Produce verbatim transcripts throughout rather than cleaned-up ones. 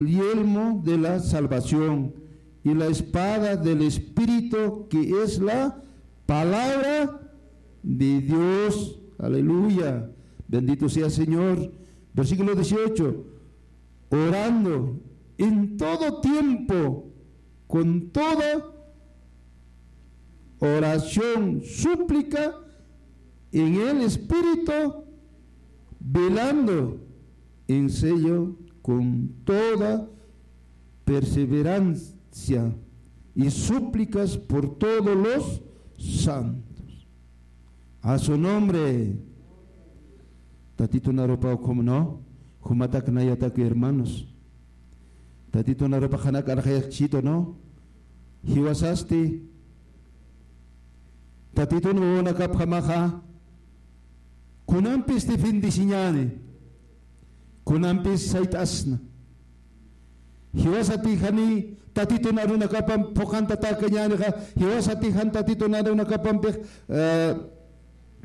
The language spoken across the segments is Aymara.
yelmo de la salvación y la espada del Espíritu, que es la palabra de Dios. Aleluya. Bendito sea Señor. Versículo dieciocho. Orando en todo tiempo, con toda oración, súplica en el Espíritu, velando en ello con toda perseverancia y súplicas por todos los santos. A su nombre. Tatitun arupaw, ¿cómo no? Jumatak nayatak, hermanos. Tatitun arupax janak arxayakchitu, ¿no? Jiwasasti Tatitun wawanakapjamaxa kunampis defendisiñäni, kunampis sayt'asna. Jiwasati jani Tatitun arunakapamp phuqantatäkañänixa, jiwasati jan Tatitun arunakapampix, eh,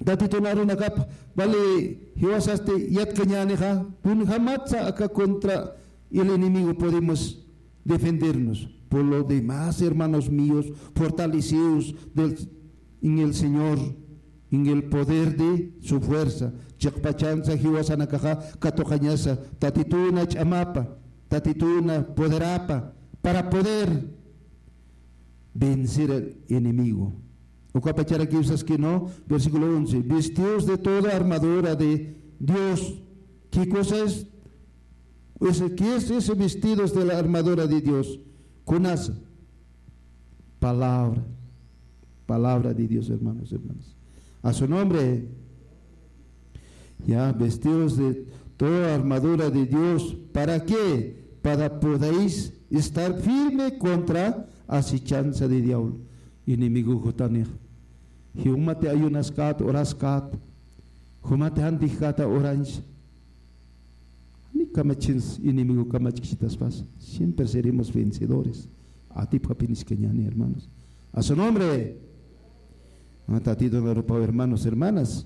Tatitun arunakap wali jiwasasti yatkañänixa, kunjamatsa aka contra el enemigo podemos defendernos. Por lo demás, hermanos míos, fortaleceos del, en el Señor, en el poder de su fuerza. Chiqpachansa jiwasanakaxa katuqañasa Tatituna ch'amapa, Tatituna poderapa, para poder vencer al enemigo. Ukapacharakiw saski, ¿no? Versículo once. Vestidos de toda armadura de Dios. ¿Qué cosa es? Ese, ¿qué es ese vestidos de la armadura de Dios? Kunasa. Palabra. Palabra de Dios, hermanos, hermanas. A su nombre. Ya, vestidos de toda armadura de Dios. ¿Para qué? Para podéis estar firme contra asechanza de diablo. Enemigo jutanix. Jumati ayunaskat, oraskat. Jumati jantijkata oranch. Ni kamachins enemigo kamachkchitaspas. Siempre seremos vencedores. Atipxapiniskañäni, hermanos. A su nombre. Ah, Tatitun arupaw, hermanos, hermanas.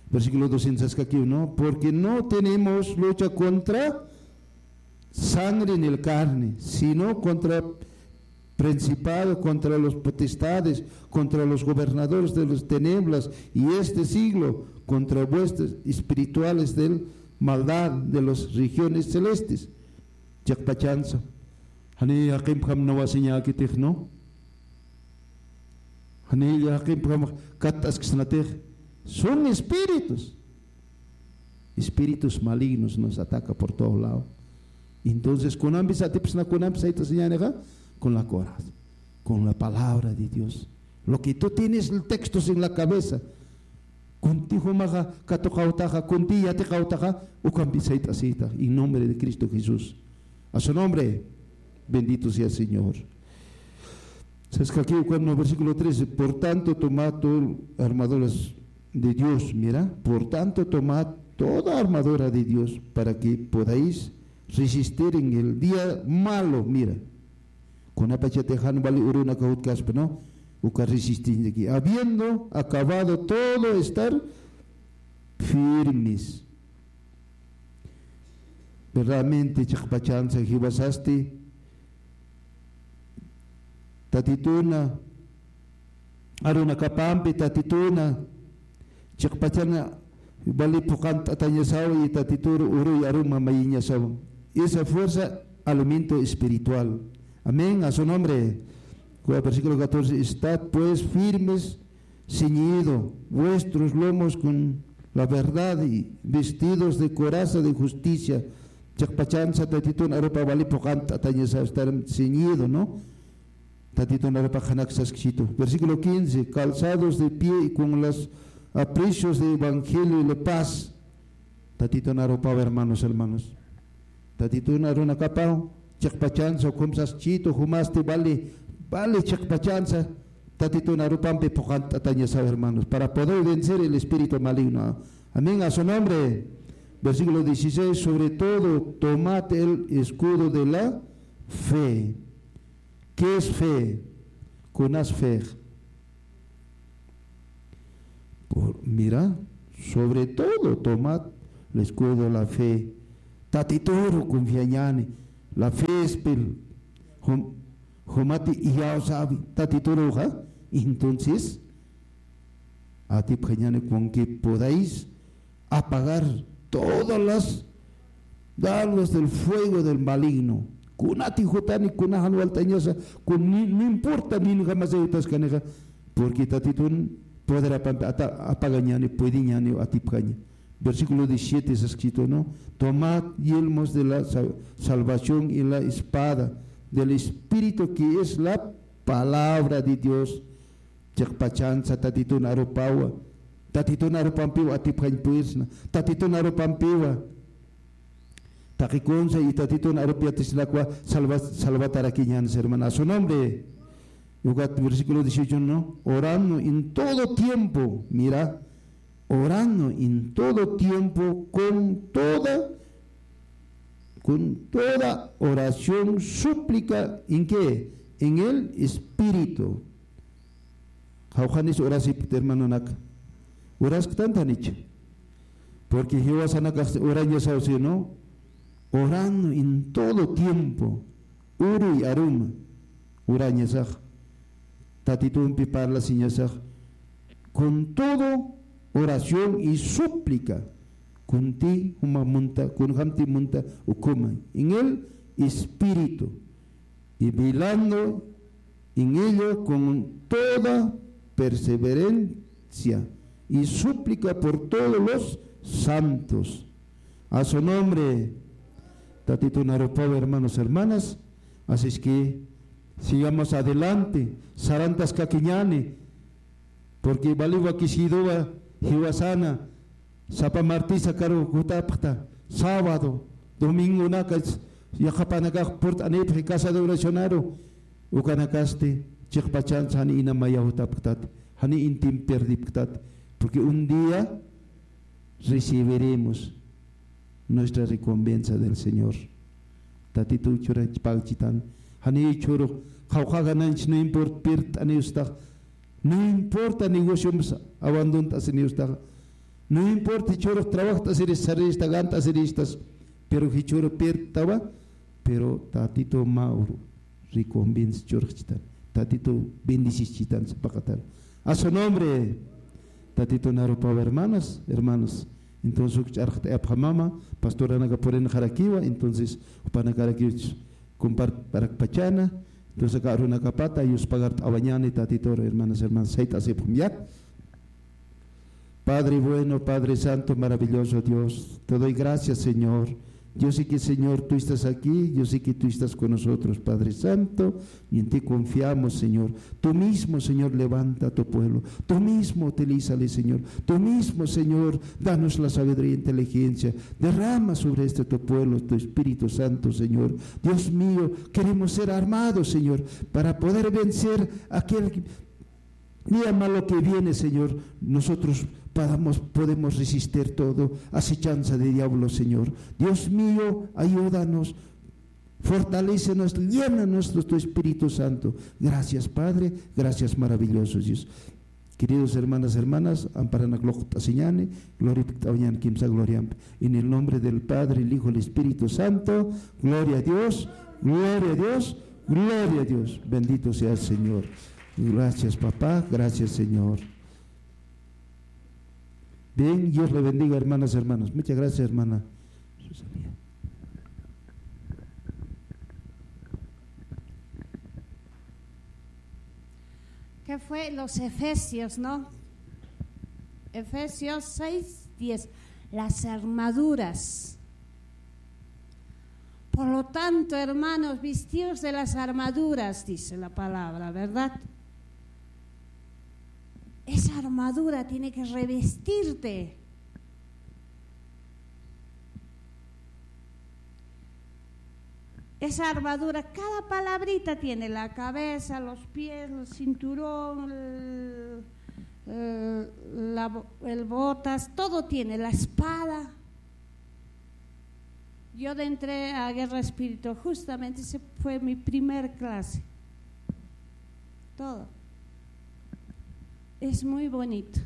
Versículo doscientos saskakiw, ¿no? Porque no tenemos lucha contra sangre ni el carne, sino contra principado, contra los potestades, contra los gobernadores de las tinieblas y este siglo, contra huestes espirituales de maldad de las regiones celestes. Chiqpachansa. Jani jaqimpjam nawasiñäkitix, ¿no? Jani jaqimpjam katt'asksnatix. Son espíritus. Espíritus malignos nos ataca por todo lado. Entonces, kunampis atipsna, kunampis sayt'asiñänixa, con la coraza, con la palabra de Dios. Lo que tú tienes textos en la cabeza, kunti jumaxa katuqawtaxa, kunti yatiqawtaxa, ukampi sayt'asita, en nombre de Cristo Jesús. A su nombre, bendito sea Señor. Saskakiw ukan, ¿no? Versículo trece. Por tanto, tomad todo armaduras de Dios. Mira, por tanto, tomad toda armadura de Dios para que podáis resistir en el día malo. Mira, kunapachatix jan wali urunaka jutkaspa, ¿no? Uka resistencia aquí. Habiendo acabado todo, estar firmes. Verdaderamente, chiqpachansa jiwasasti Tatituna arunakapampi, Tatituna chiqpachana wali phuqant'atañasaw y Tatitur uruy aruma mayiñasaw. Esa fuerza, alimento espiritual. Amén, a su nombre. Versículo catorce. Estad pues firmes, ceñido vuestros lomos con la verdad y vestidos de coraza de justicia. Chiqpachansa Tatitun arupa wali phuqant'atañasa estar ceñido, ¿no? Tatitun arupa janak saskchitu. Versículo quince. Calzados de pie y con los aprecios de evangelio y la paz. Tatitun arupaw, hermanos, hermanos. Tatitun arunakapaw, chiqpachansa, ukham saskchitu, jumasti wali, wali chiqpachansa, Tatitun arupampi phuqant'atañasaw, hermanos, para poder vencer el espíritu maligno. Amén, a su nombre. Versículo dieciséis, sobre todo, tomad el escudo de la fe. ¿Qué es fe? Kunas fe. Por, mira, sobre todo, tomad el escudo de la fe. Tatituru confiañäni. la fe es pel, jum-, jumati iyawsawi Tatituruxa, entonces, atipjañani con que podáis apagar todas las dardos del fuego del maligno. Kunati jutani, kuna jan walt'añasa, kun ni, no importa, ni jamasa jutaskanixa, porque Tatitun poder apampi ata-, apagañani, puediñani, atipjaña. Versículo diecisiete es escrito, ¿no? Tomad yelmos de la sa-, salvación y la espada del Espíritu, que es la palabra de Dios. Chiqpachansa Tatitun arupawa. Tatitun arupampiwa atipjañ purisna. Tatitun arupampiwa taqikunsa y Tatitun arupi yatisinakwa salva-, salvatarakiñansa, hermana. A su nombre. Ukat versículo dieciocho, ¿no? Orando en todo tiempo, mira, orando en todo tiempo con toda, con toda oración, súplica, ¿en qué? En el Espíritu. Jawjanis orasipkta, hermanonaka. Orasktantanich. Porque jiwasanakax orañasaw, sino orando en todo tiempo. Uruy aruma. Orañasax. Tatitumpi parlasiñasax. Con todo oración y súplica. Kunti juma munta, kunjamti munta ukhuma. En el Espíritu. Y velando en ello con toda perseverancia y súplica por todos los santos. A su nombre, Tatitun arupawa, hermanos, hermanas. Así es que sigamos adelante, sarantaskakiñani, porque wali wakisiduwa jiwasana, sapa martisa karu jutapxta, sábado, domingonaka, yaqapanakax purt'anipxi casa de oracionaru, ukanakasti chiqpachansa jani ina maya jutapxtat, jani intim perdipxtat, porque un día recibiremos nuestra recompensa del Señor. Tatitu churachpagchitan. Jani churu, qawqha gananch, no importa, pirt'aniwstax. No importa, negociomsa abandont'asiniwstax. No importa, churu, trabajt'asiris, sarirista, gant'asiristas. Pero jichuru pirt'tawa, pero Tatitu mä uru recompensa churxchitan. Tatitu bendisischitan sapaqatan. A su nombre, Tatitu narupaw, hermanas, hermanos. Entonces, uk ch'arxt'ayapxamama, pastoranaka purinxarakiwa, entonces, jupanakarakiwch compartparakpachana, entonces, aka arunakapata, yuspagart'awañani, Tatitu, hermanas, hermanos, sayt'asipxam, ya. Padre bueno, Padre santo, maravilloso Dios, te doy gracias, Señor. Yo sé que, Señor, tú estás aquí, yo sé que tú estás con nosotros, Padre Santo, y en ti confiamos, Señor. Tú mismo, Señor, levanta a tu pueblo. Tú mismo utilízale, Señor. Tú mismo, Señor, danos la sabiduría e inteligencia. Derrama sobre este tu pueblo tu Espíritu Santo, Señor. Dios mío, queremos ser armados, Señor, para poder vencer aquel día malo que viene, Señor, nosotros podamos, podemos resistir todo acechanza de diablo, Señor. Dios mío, ayúdanos, fortalécenos, llénanos de tu Espíritu Santo. Gracias, Padre, gracias, maravilloso Dios. Queridos hermanas, hermanas, amparanak luqt'asiñani, glorifikt'awañani kimsa gloriampi. En el nombre del Padre, el Hijo, el Espíritu Santo, gloria a Dios, gloria a Dios, gloria a Dios. Bendito sea el Señor. Gracias, papá. Gracias, Señor. Bien, Dios le bendiga, hermanas, hermanos. Muchas gracias, hermana Susana. ¿Qué fue? Los Efesios, ¿no? Efesios seis diez. Las armaduras. Por lo tanto, hermanos, vestidos de las armaduras, dice la palabra, ¿verdad? Esa armadura tiene que revestirte. Esa armadura, cada palabrita tiene, la cabeza, los pies, el cinturón, el, el, la bo-, el botas, todo tiene, la espada. Yo entré a guerra espiritual, justamente ese fue mi primer clase. Todo. Es muy bonito.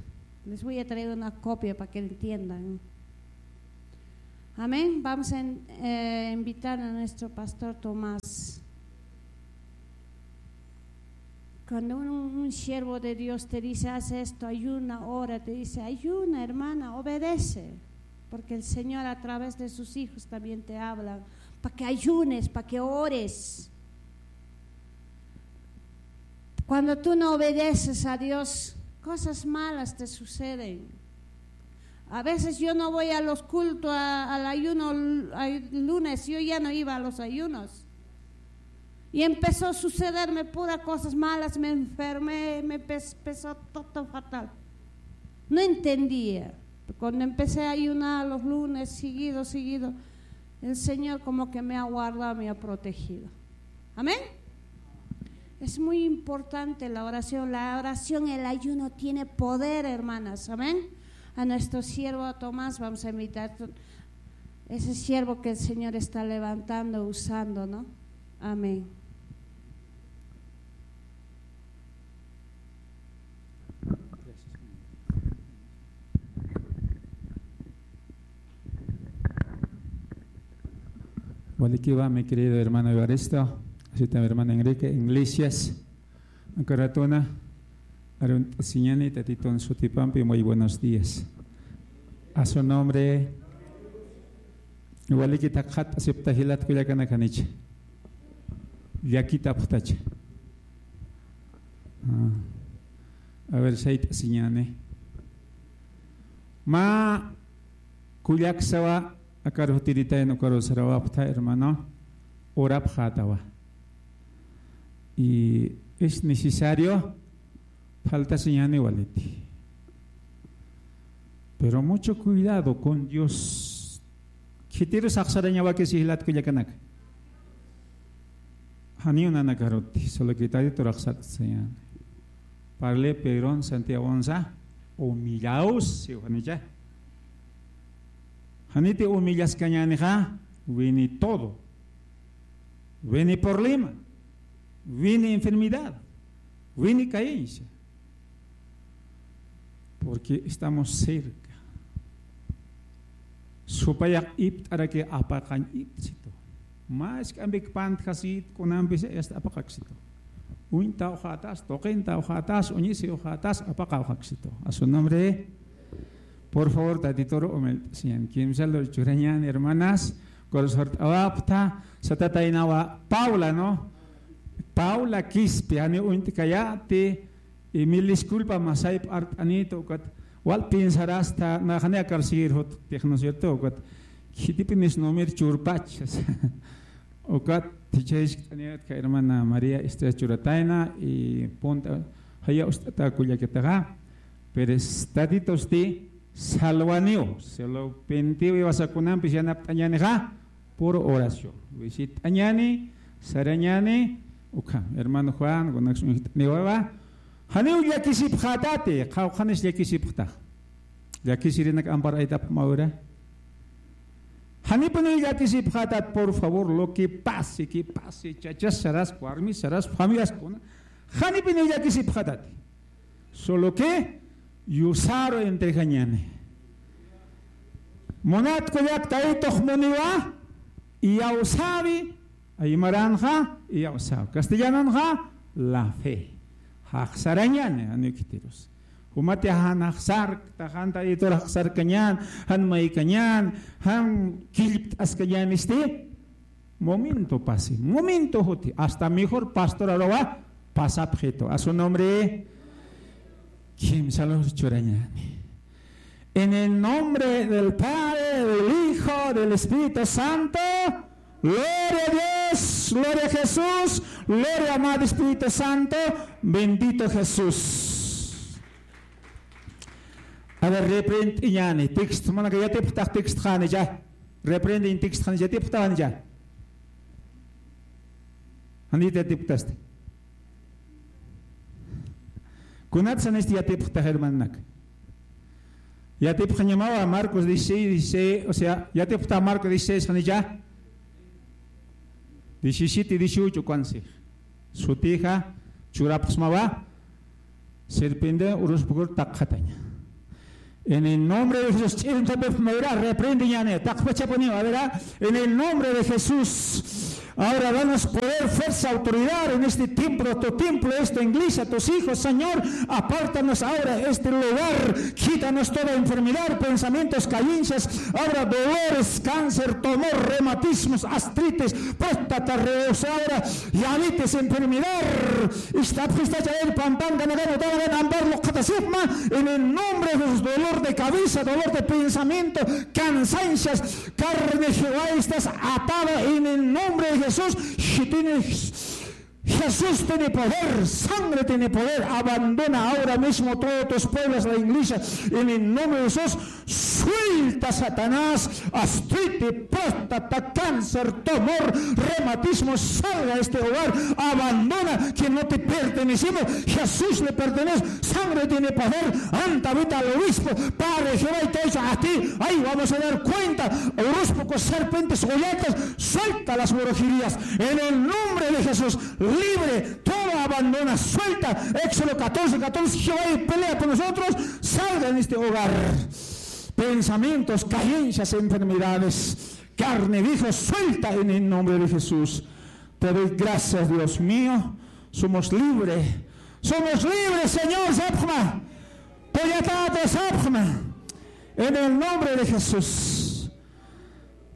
Les voy a traer una copia para que entiendan. Amén. Vamos a in-, eh, invitar a nuestro pastor Tomás. Cuando un, un siervo de Dios te dice, "Haz esto, ayuna, ora", te dice, "Ayuna, hermana, obedece", porque el Señor a través de sus hijos también te habla, para que ayunes, para que ores. Cuando tú no obedeces a Dios, cosas malas te suceden. A veces yo no voy a los cultos, a, al ayuno, al lunes, yo ya no iba a los ayunos. Y empezó a sucederme pura cosas malas, me enfermé, me pes-, empezó todo fatal. No entendía. Cuando empecé a ayunar los lunes, seguido, seguido, el Señor como que me ha guardado, me ha protegido. Amén. Es muy importante la oración. La oración, el ayuno tiene poder, hermanas. Amén. A nuestro siervo Tomás vamos a invitar, ese siervo que el Señor está levantando, usando, ¿no? Amén. Walikiwa, mi querido hermano Evaristo, así también hermano Enrique Iglesias, aka ratuna arunt'asiñani Tatitun sutipampi, muy buenos días. A su nombre. Waliki thaqhat'asipxta jilat kullakanakanicha. Llakitapxtacha. Ah. A ver, sayt'asiñani. Mä kullaksawa, akar jutiritayna ukaru sarawapxta, hermano. Orapxätawa. Y es necesario, faltasiñäni waliti. Pero mucho cuidado con Dios. Khitirus axsarañawaki jilat kullakanaka. Janiw nanakaruti, solo que Tatitur axsart'asiñäni. Parle Pedron Santiagonsa, humillaos, siw janicha. Janiti humillaskañänixa, wini todo. Wini problema, wini enfermedad, wini carencia. Porque estamos cerca. Supayax ipt'araki apaqañ ipt'situ. Mä jisk'ampik pantjasit kunampis hasta apaqaksitu. Uñtawxätas, tuqintawxätas, uñisiwxätas apaqawxaksitu. A su nombre. Por favor, Tatitur humilt'asiñäni. Kimsa lur churañäni, hermanas. Ukaru sart'awapxta, satataynawa Paula, ¿no? Paula Quispe, janiw uñt'kayäti, y mil disculpa, mä sayp art'anïta, ukat wal piensarasta, nax janiw akar seguir jutxtix, ¿no es cierto? Ukat khitipinis numir churpach. Ukat jichha jiskt'anïta, hermana María Estrella churatayna, y punta, jaya ust'ata kullakataxa. Pero Tatitusti salvaniw, se lo pentiw, iwasa kunampis yanapt'añänixa, puro oración. Visit'añäni, sarañäni, ukham. Hermano Juan, kunaks uñjt'aniwawa. Janiw llakisipxätati, qhawqhanis llakisipxta. Llakisirinak amparaytapxmawira. Janipiniw llakisipxätat, por favor, lo que pase, que pase, chachas saras, warmis saras, familias kuna. Janipiniw llakisipxätati. Solo que yusaru entregañäni. Munat kullak Tatitux muniwa, iyawsäwi, aymaranxa, iyawsäwi. Castellananxa, la fe. Jaxsarañäni, janiw khitirus. Jumati jan jaxsarkta, jan Tatitur jaxsarkañän, jan maykañän, jan killpt'askañänisti. Momento pasi, momento juti, hasta mejor pastor aruwa pasapxitu. A su nombre, kimsa lur churañäni. En el nombre del Padre, del Hijo, del Espíritu Santo. Gloria a Dios, gloria a Jesús, gloria amado Espíritu Santo, bendito Jesús. A ver, reprendt'iñäni, texto, manaka yatipxtax texto janicha. Reprende in texto janicha, yatipxta janicha. Janit yatipxtasti. Kunat sanisti yatipxtax hermananak. Yatipxañamawa Marcos dieciséis, dieciséis, o sea, yatipxta Marcos dieciséis janicha. Diecisiete, dieciocho, ukansix. Sutixa, churapxsmawa. Serpiente uruspukur taqxataña. En el nombre de Jesús, ch'imtapip mayra, reprende ñane, takpachapuni, a ver, ah, en el nombre de Jesús. Ahora danos poder, fuerza, autoridad en este tiempo, tu templo, esta iglesia, tus hijos, Señor. Apártanos ahora este lugar, quítanos toda enfermedad, pensamientos, carencias, ahora dolores, cáncer, tumor, reumatismos, artritis, próstata, reos, ahora diabetes, enfermedad. Ist'apxista chayir pampan ganagan utanagan ambar luqhatasipma, en el nombre de Jesús, dolor de cabeza, dolor de pensamiento, cansancias, carne, Jehová, estás atada en el nombre de Jesús. Si tienes, Jesús tiene poder, sangre tiene poder. Abandona ahora mismo todos tus pueblos, la iglesia, en el nombre de Jesús. Suelta, Satanás, artritis, próstata, cáncer, tumor, reumatismo, salga de este hogar, abandona, que no te pertenecemos, Jesús le pertenece, sangre tiene poder, anda, vete al obispo, Padre Jehová, y te dice a ti, ahí vamos a dar cuenta, orospuku, serpientes, goyatas, suelta las brujerías, en el nombre de Jesús, libre, todo abandona, suelta, Éxodo catorce, catorce, Jehová pelea por nosotros, salga en este hogar. Pensamientos, carencias, enfermedades, carne vieja, suelta en el nombre de Jesús. Te doy gracias, Dios mío. Somos libres. Somos libres, Señor, sapxma. Pollatato sapxma. En el nombre de Jesús.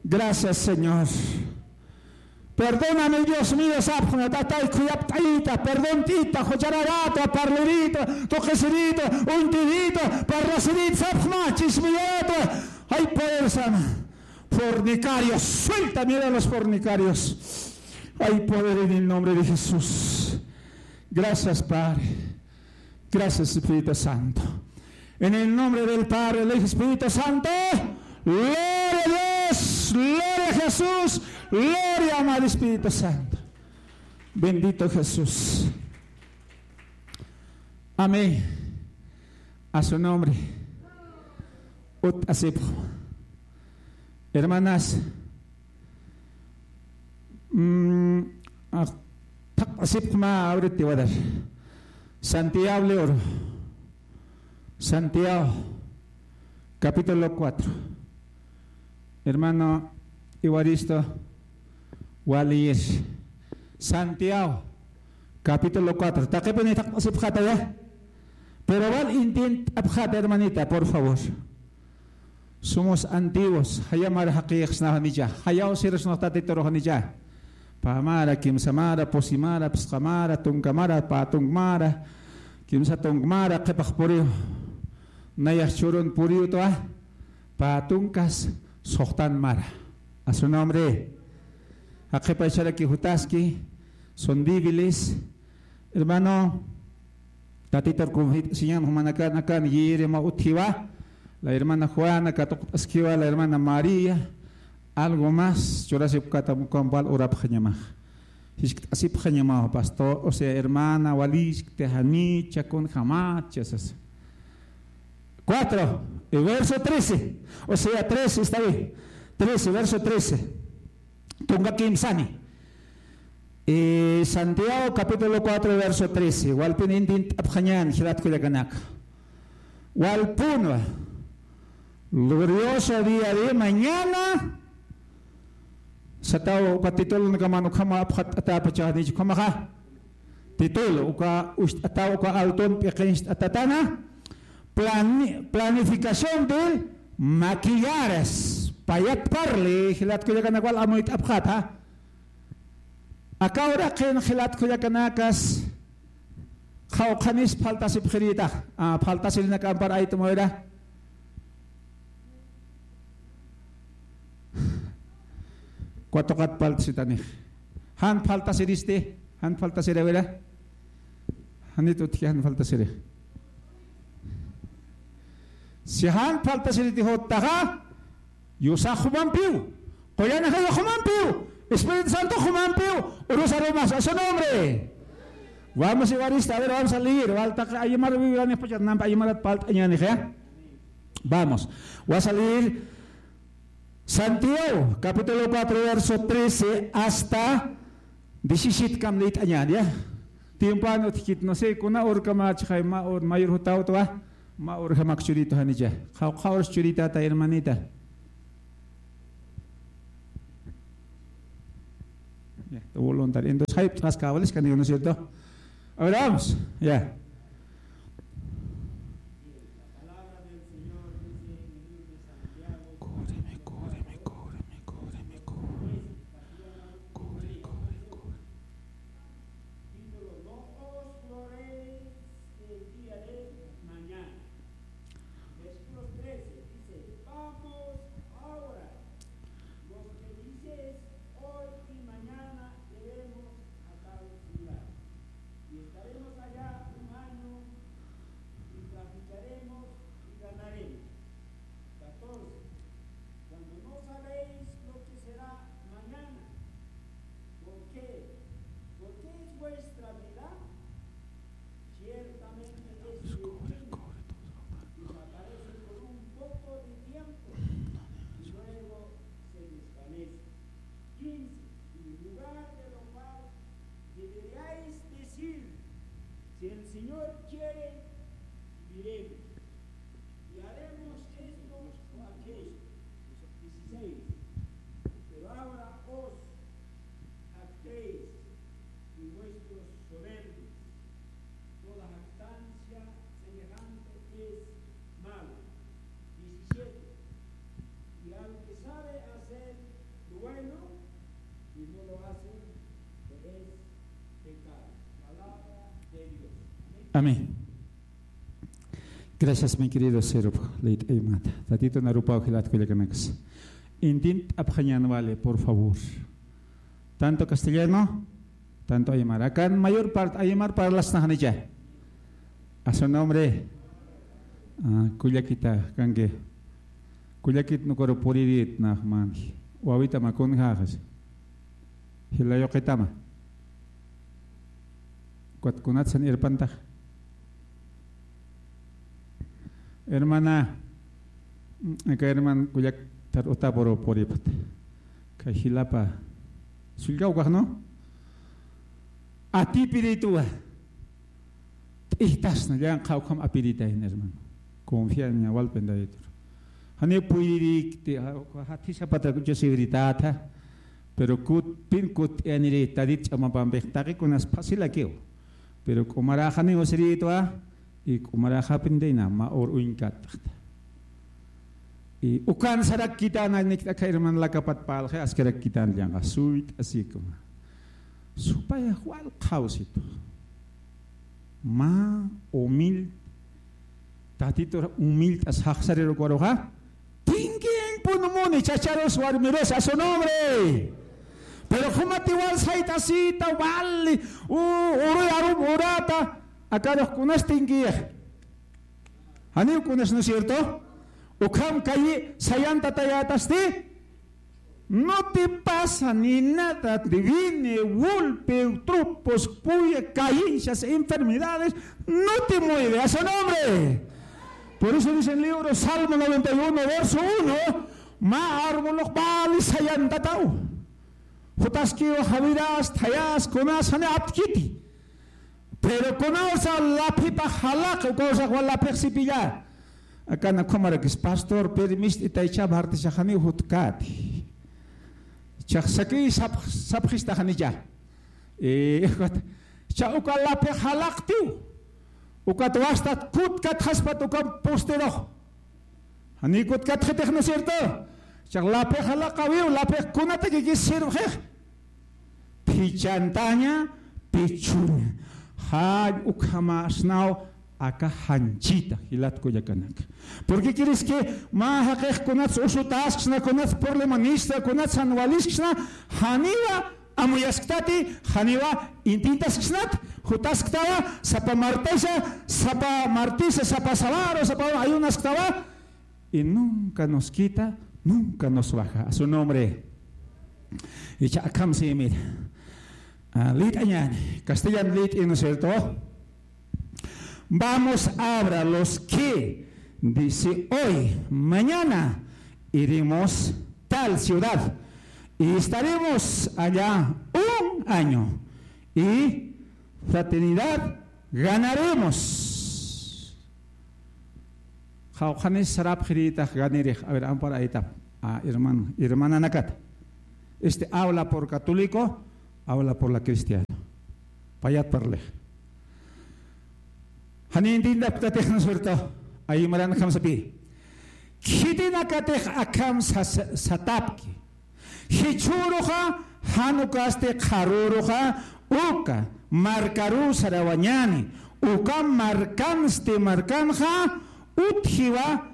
Gracias, Señor. Perdóname, Dios mío, sapxna, tatay, khuyapt'ayita, perdont'ita, juchararata, parlirita, tuqisirita, uñtirita, parlasirita, sapxma, chismiyata. Ay, poder sana. Fornicarios, suelta, mira a los fornicarios. Ay, poder en el nombre de Jesús. Gracias, Padre. Gracias, Espíritu Santo. En el nombre del Padre, del Hijo, Espíritu Santo. Gloria a Dios, gloria a Jesús, gloria, amado Espíritu Santo. Bendito Jesús. Amén. A su nombre. Ut asipxma. Hermanas, mm, ah, thaq asipxma, ahorita te voy a dar. Santiago, Santiago, capítulo cuatro. Hermano Evaristo, wal leer. Santiago, capítulo cuatro. Taqipuni thaq asipxäta, ya. Pero wal intint'apxäta, hermanita, por favor. Somos antiguos, jaya mara jaqïxsnaxnicha, jayaw sirusnax Tatiturxnicha. Pä mara, kimsa mara, pusi mara, phisqa mara, tunka mara, pä tunk mara, kimsa tunk mara, qhipax puriw, nayax churun puriw utwa, pä tunkas suxtan mara. A su nombre. Jaqipacharaki jutaski, son débiles. Hermano, Tatitur kunjit siñan jumanakan akan yirima utjiwa, la hermana Juana katuqt'askiwa, la hermana María, algo más, churasipkata mukampal urapxañamax. Jiskt'asipxañamaw, pastor, o sea, hermana, waliskti, janicha, kunjamatcha, sasa. Cuatro, y verso trece, o sea, trece, está bien. Trece, verso trece. Tunka kimsani. Eh, Santiago capítulo cuatro, verso trece. Walpun intint'apxañäni, jilat kullakanaka. Walpunwa. Glorioso día de mañana. Sataw uka titulunakaman ukhama apxatt'atäpachax, janicha ukhamaxa. Título, uka ucht'ataw, uka altun p'iqincht'atatana, plani-, planificación del maquillares. Payat parli, jilat kullakanaka, wal amuyt'apxäta. Aka uraqin jilat kullakanakas, qhawqhanis phaltasipxirïta, ah, phaltasirinakampi ayt'amuyra. Katuqat phaltasitanix. Jan phaltasiristi, jan phaltasiri, a ver. Janit utji jan phaltasiri. Si jan phaltasiriti juttaxa, Diosax jumampiw, qullan ajayax jumampiw, Espíritu Santox jumampiw, urusarumas a su nombre. Vamos, Evaristo, a ver, vamos a leer. Wal taqi aymar Biblia niqpachat, nampi aymarat parlt'añänix, ya. Vamos. Vas a leer Santiago, capítulo cuatro, verso trece hasta diecisiete kam liyt'añäni, ya. Tiempoan utjkit, no sé, kuna urkamächixay, mä ur, mayor jutäwtwa. Ma urjamak churitu janicha. Qhaw qhawrs churita ta hermanita. Ya, tu voluntario. Entonces, hay otras cabales que no, ¿no es cierto? Ahora vamos, ya. Cúbreme, cúbreme, cúbreme, cúbreme, cúbreme. Cubre, cubre, cubre. Título, no os gloréis del día de mañana. Versículo trece dice, vamos ahora, los que dices hoy y mañana iremos a tal ciudad, y estaremos allá un año, y traficaremos y ganaremos. Catorce. Cuando no sabéis lo que será mañana, ¿por qué? ¿Por qué es vuestra vida? Ciertamente este tiempo desaparece por un poco de tiempo y luego se desvanece. Quince. En lugar de lo cual deberíais decir, si el Señor quiere, viviremos. Y haremos esto o aquello. Dieciséis. Pero ahora os jactéis de vuestros soberbios. Toda jactancia semejante es mala. Diecisiete. Y al que sabe hacer lo bueno y no lo hace, le es pecado. Palabra de Dios. Amén. Amén. Gracias, mi querido Serop. Leit Aymata. Tatito narupaw jilat kullakanaksa. Intint'apxañän wali, por favor. Tanto castellano, tanto aymara. Acá mayor parte aymar parlasnaxnicha. A su nombre. Ah, kullakita, kanki. Kullakit nukaru puririt naxman. Wawita makun jaxas. Jila yuqitama. Ukat kunatsan irpantax. Hermana, aka herman kullak tar utapuru puripat. Kay jilapa. Sullkaw kaxnu. Atipirituwa. T'ijtasna, llanqha ukham apiritayn, hermano. Confiaña, walpen Daditur. Jani puyririkti, ja-, jathisapata kuchasiwiritätha. Pero kut, pin kut, yaniri, Tadit ch'amapampix taqikunas fácilakiw. Pero k'umaraxani usirïtwa, y k'umaraxapin dina, ma ur uñkataxta. Y ukan sarakkitan, niktakha herman lakapat palxi, askarakkitan llanqa, suyt'asikma. Supaya wal qhawsitu. Mä humilde, Tatitur humilde as jaqsarirukaruxa, tinkiñpun muni chacharus warmirus a su nombre. Pero jumati wal sayt'asita, wali, u-, uruy arum urata, akarux kunas tinkiyax. Janiw kunas, ¿no es cierto? Ukham kayi sayantatayätasti, no te pasa ni nada, te viene golpe, tropos, puya, caíncias, enfermedades, no te mueve a su nombre. Por eso dice el libro Salmo noventa y uno, verso uno, mä arbolux wali sayantataw. Jutaskiw jawiras, thayas, kunas, jani aptkiti. Pero kunawsa laphipax jalaqi, ukawsax wal laphix sipilla. Akan ukhamarakis, pastor, permist'itaycha, martisa janiw jutkäti. Chax sakiy sap-, sapxistaxanicha. Eh, ukat, cha uka laphix jalaqtiw. Ukat wastat kutkatxaspat uka posterux. Janiw kutkatxitix, ¿no es cierto? Chax laphix jalaqawiw, laphix kunatakikis sirwxix. Phichantaña, pichuña. Jall ukhamäsnaw aka janchita, jilat kullakanaka. ¿Por qué crees que mä jaqix kunats usutasksna, kunats problemanista, kunats jan walisksna, janiwa amuyasktati, janiwa intintasksnat, jutasktawa, sapa martisa, sapa martisa, sapa sabaro, sapa ayunasktawa, y nunca nos quita, nunca nos baja. A su nombre. Icha akham si, mira. Ah, lit'añäni. Castellano lit'i, ¿no es cierto? Vamos ahora los que dice hoy, mañana iremos tal ciudad y estaremos allá un año y fraternidad ganaremos. Qhawqhanis sarapxirïtax ganirix, a ver, ampar aytap. Ah, hermano, hermananakata. Este habla por católico, habla por la cristiana. Payat parlix. Jani entiendapktatix, ¿no es cierto? Aymaran akham sapï. Khitinakatix akham sas-, satapki. Jichhüruxa jan ukasti qharüruxa uka markaruw sarawañäni, uka markansti markanxa utjiwa,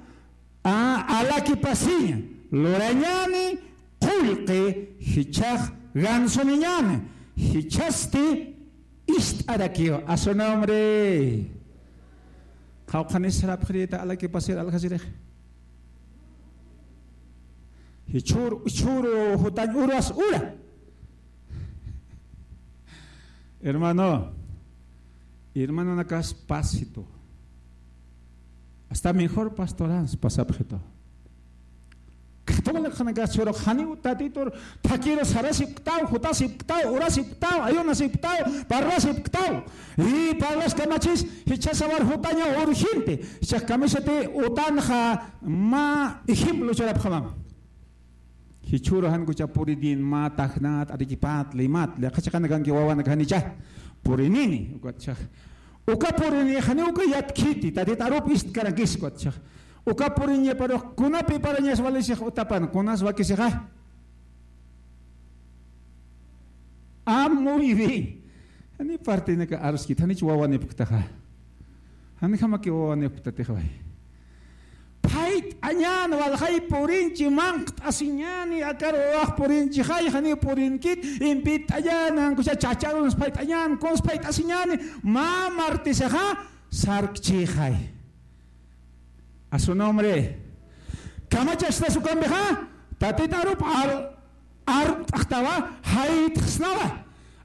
a, alakipasiña lurañäni, qullqi jichhax gansuniñäni, jichhasti ist'arakiw. A su nombre. Qhawqhanis sarapxirïta alakipasir aljasirix. Jichhür, jichhür jutañ uras ura. Hermano, hermanonakas pasitu. Hasta mejor pastorans pasapxitu. Católiconakas churux janiw Tatitur thakiru sarasipktaw, jutasipktaw, urasipktaw, ayunasipktaw, parlasipktaw. Y parlas kamachis, jichha sawar jutaña urgente. Jichhax kamisati utanxa mä ejemplo churapxamam. Jichhüru jan ukhacha purinin mä Tacnat, Arequipat, Limat, llaqha chiqanakanki wawanaka janicha purinini, ukatchax. Uka purini janiw uka yatkhiti, Tatit arup ist'karankis, ukatchax. Uka puriñaparux, kunapi parañas walisix utapan, kunas wakisixa. Ah, muy bien. Jani partinaka aruskit, janich wawanipktaxa. Janjamaki wawanipktatixway. Phayt'añän walxay purinchi, manqt'asiñäni, akar wawax purinchixay, janiw purinkit, impit'añän, ankucha chacharun phayt'añän, kuns phayt'asiñäni, mä martesixa sarkchixay. A su nombre. Kamachastas ukampixa, Tatit arup al-, armt'xtawa, jaytxsnawa.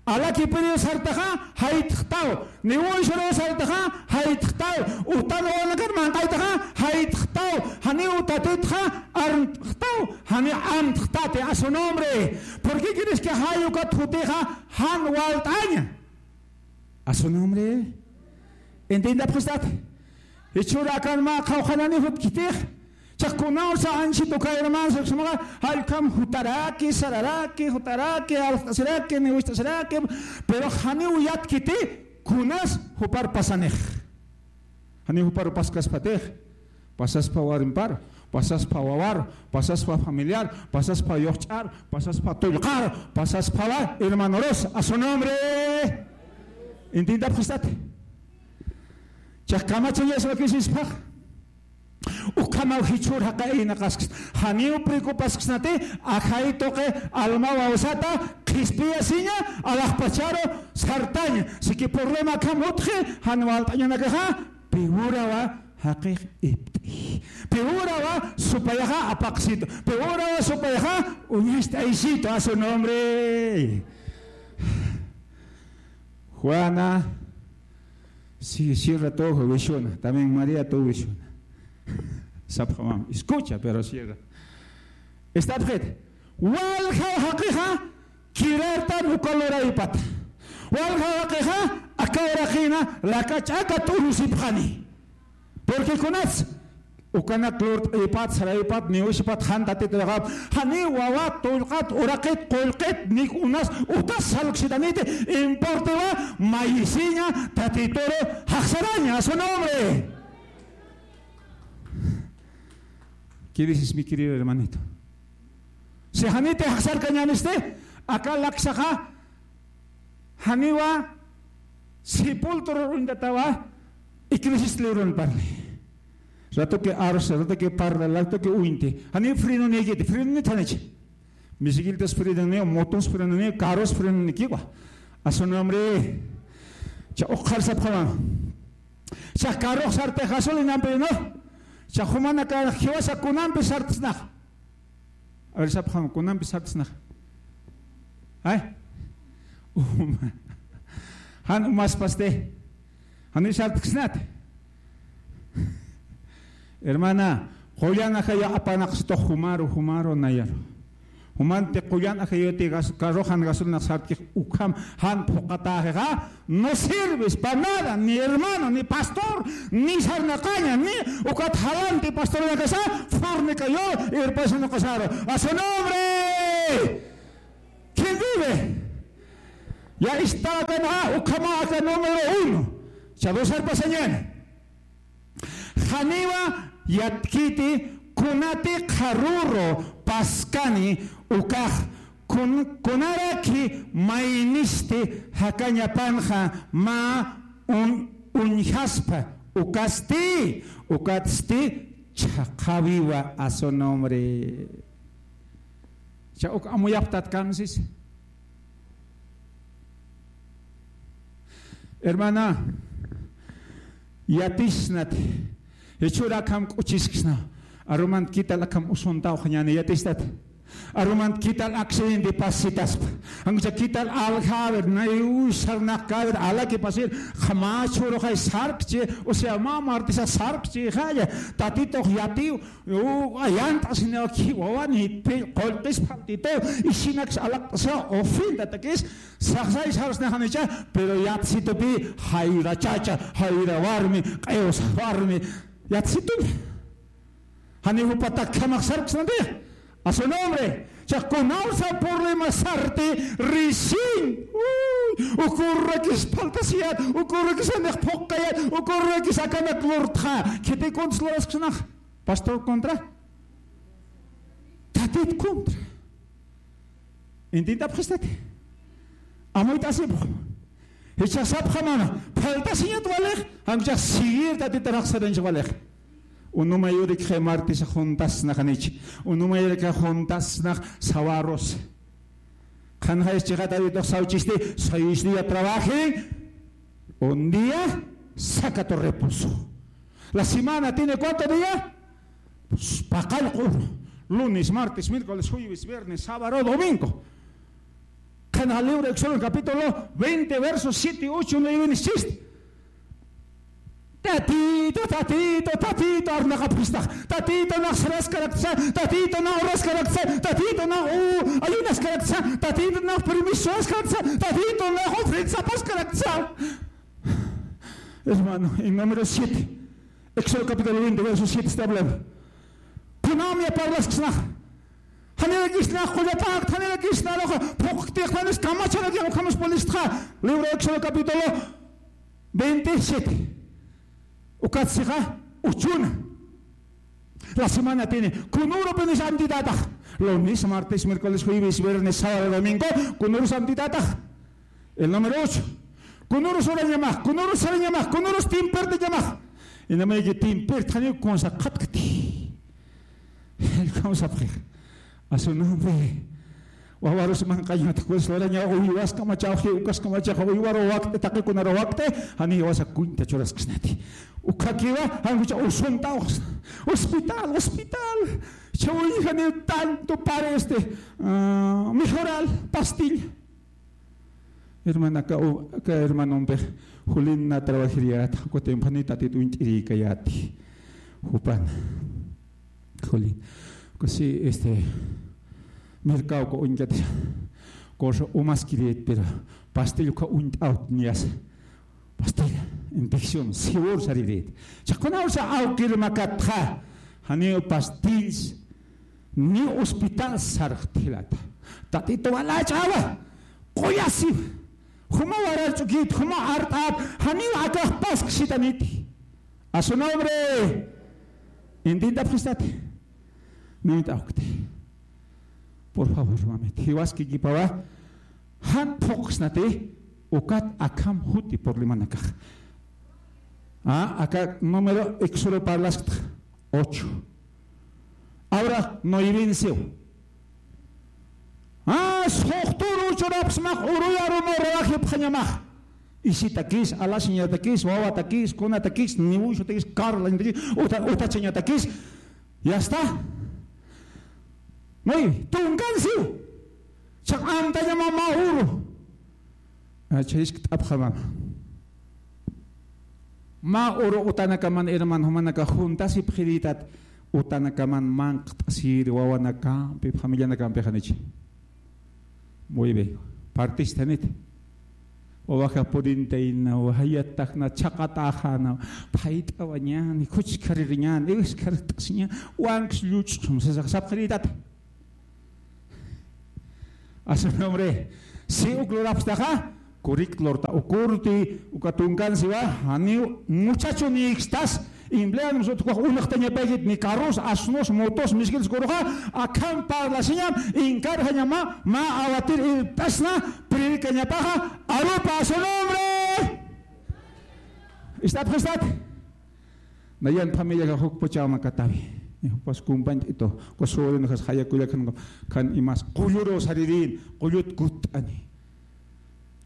Alakipiriw sartaxa, jaytxtaw. Niwunshuruw sartaxa, jaytxtaw. Utan wawanakar manq'aytaxa, jaytxtaw. Janiw Tatitxa, armt'xtaw. Janiw amtxtati, a su nombre. ¿Por qué crees que jay ukat jutixa, jan walt'aña? A su nombre. Entiendapxistati. Jichhüru akan mä qhawqhanani jutkitix. Chax kunawsa anchit uka hermanos, uksmaxa, jallkham jutaraki, sararaki, jutaraki, aljt'asiraki, niwist'asiraki, pero janiw yatkiti, kunas jupar pasanix. Janiw jupar paskaspatix. Pasaspa warmipar, pasaspa wawar, pasaspa familiar, pasaspa yuqch'ar, pasaspa tullqar, pasaspa wa hermanorus, a su nombre. Entiendapxistati. Chax kamachañas wakisispax. Ukhamaw jichhür jaqi aynaqasks. Janiw preocupasksnati, ajay tuqi alma wawsata, qhispiyasiña, alaxpacharu sartaña. Siki problema akham utji, jan walt'añanakaxa, piwurawa jaqix ipt'i. Piwurawa supayaxa apaqsitu. Piwurawa supayaxa uñast'aysitu a su nombre. Juana, sí, Sierra tuw wishuna. También María tuw wishuna. Sapxamam. Escucha, pero Sierra. Estapxit. Walja jaqixa, kirartan uka luraypat. Walja jaqixa, aka uraqina, laka ch'aka t'urusipxani. Porque kunas, ukanak lurt'aypat, saraypat, niwishpat, jan Tatit uraqap, jani wawa, tullqat, uraqit, qullqit, nik unas, utas salksitaniti, importiwa, mayisiña, Tatituru, jaxsaraña, a su nombre. ¿Qué dices, mi querido hermanito? Si janiti jaxsarkañänisti, aka laksaxa, janiwa sepultura uñtatawa, Eclesiastés librun parli. Ratoki arsa, ratoki parla, ratoki uñti. Jani frenonïkiti, frenonït janichi. Bicicletas frenonïw, motos frenonïw, carros frenonïkiwa. A su nombre. Cha uqhar sapxama. Cha carro sartix gasolinampi, ¿no? Cha jumanaka jiwasa kunampi sartxsnax. A ver, sapxam, kunampi sartxsnax. Ay. Uma. Jan umaspasti. Jani sartxsnat. Hermana, qullan ajaya apanaqsitux jumaru, jumaru, nayaru. Jumanti qullan ajayuti gas-, carrojan gasolina sarkix ukham jan phuqatäxixa, no sirves pa nada, ni hermano, ni pastor, ni sarnaqaña, ni ukat jalanti pastornakasa, fornicayor, irpasanakasaru. A su nombre. ¿Quién vive? Ya está acá, ¿no? Ukhama acá número uno. Chadusar pasañana. Janiwa yatkiti kunati qharuru paskani ukax kun-, kunaraki maynisti jakañapanxa mä un-, uñjaspa ukasti, ukatsti chhaqhawiwa a su nombre. Cha uk amuyapxtat kamsis. Hermana, yatisnat. Jichhüra akham k'uchisksna. Arumant quital akham usuntawxañäni yatistat. Arumant quital accidente pasitaspa. Ancha quital aljäwir, nay uy sarnaqkäwir, alaki pasir, qhama chhuruxay sarkchi, o sea, mä martisa sarkchi, jaya, tatitux yatiw, U, ayant'asiniw ki wawani, pi-, qullqis phaltito, isinaks alaqt'asa, ofendatakis, saxsay sarsnaxanicha, pero yatsitupi, jayra chacha, jayra warmi, q'iwsa warmi, yatsitupi. Jani jupatak khamax sarksnati, a su nombre, cha kunawsa problema sarti, risiñ, uy, ukurrakis phaltasiyat, ukurrakis anix phuqkayat, ukurrakis akanak lurtxa, khiti kuntis lurasksnax. Pastor contra. Tatit contra. Intintapxistati. Amuyt'asipxu. Jichhasapxamana. Phaltasiñat walix. Jancha seguir tatitarax sarañch walix. Unumayurikxa martisa juntasnaxanich. Unumayurikxa juntasnax sawarus. Qhanxayas chiqataritox sawchisti, seis día trabaje, un día saca tu reposo. La semana tiene cuánto día? Pues, paqallq'ur. Lunes, martes, miércoles, jueves, viernes, sábado, domingo. Qhanxa libro Éxodo capítulo veinte, versos siete, ocho, nueve, diez. Tatito, tatito, tatito, arnaqapxistax. Tatito, nax saraskaraksa, tatito, nax uraskaraksa, tatito, nax u-, ayunaskaraksa, tatito, nax permiso askaraksa, tatito, nax ofrenda paskaraksa. Hermano, en número siete, Éxodo capítulo veinte, verso siete está hablando. Kunamya parlaskisnax. Janirakisnax qullapakt, janirakisnax phuqtix, janis kamacharakiw, ukham uspalistxa. Libro Éxodo capítulo veintisiete. Ukat sixa, uchuna. La semana tiene, kunürupiniw amtitatax. Lunes, martes, miércoles, jueves, viernes, sábado, domingo, kunürus amtitatax. El número ocho. Kunürus urañamax, kunürus sarañamax, kunürus timpirtañamax. Inamayki timpirtxaniw kunsa qhatkti. El kunsa pxix. A su nombre. Wawarus manq'añat, pues, lurañaw uywas kamachaw, jiwkas kamachaw, uywaru wakti, taqikunaru wakti, jani jiwasa kuñta churaskisnati. Ukhakiwa, jankucha usuntawxsna. Hospital, hospital. Chawin jani tanto para este, ah, mejoral, pastilla. Hermana, aka u-, aka hermanompix, Julina trabajiriyät, uka tiempo jani tatit uñt'irïkayäti. Jupan. Julin. Uka sí, este, mercado uka uñkat, cosa umaskirït, pero pastillo uka uñt'awt niyas. Pastilla, infección, seguro sarirït. Chaqunawsa awkir makatxa, janiw pastillas, ni hospital sarxtjilata. Tatito walach'awa, quyasiwa. Juma warar ch'ukit, juma art'at, janiw akax pasksitaniti. A su nombre. Intintapxistati. Nuñt'awkti. Por favor, mamita. Jiwaskikipawa. Jan phuqsnati, ukat akham juti problemanakax. Ah, aka número Éxodo parlasktxa. Ocho. Ahora, nueven siw. Ah, suxturu churapxsmax, uruyaru no rawajipxañamax. Isitakis, alasiñatakis, wawatakis, kunatakis, niwuxutakis, karlañatakis, uta-, utachañatakis. Ya está. Muy, tunkan siw. Chaq amtañama mä uru. Ah, chayiskt'apxamama. Mä uru utanakaman, hermano, jumanaka juntasipxiritat, utanakaman manq't'asir, wawanakampi, familianakampi janichi. Muy bien. Partistanit. Wawaxa purintayna, wajayattakna, chaqataxana, phayt'awañani, khuchkaririñani, iwskhart'asiña, wanks lluch'xum, sasa sapxirïtata. A su nombre. Si uk lurapxtaxa, kurik lurta, ukurti, uka tunkan siwa, janiw muchachunïkstas, empleados utjkax unxtañapaykit, ni carros, asnos, motos, miskiltas kuruxa, akham parlasiñam, inkarjañama, mä awatir irpt'asna, predikañapaxa, arupa a su nombre. Ist'apxistat. Nayan familiaxa jukpachäw makatawi. Jukpas kumpañt'itu. Uka sobrinoxas jaya kullakan, kan imas qulluruw saririn, qullut kutt'ani.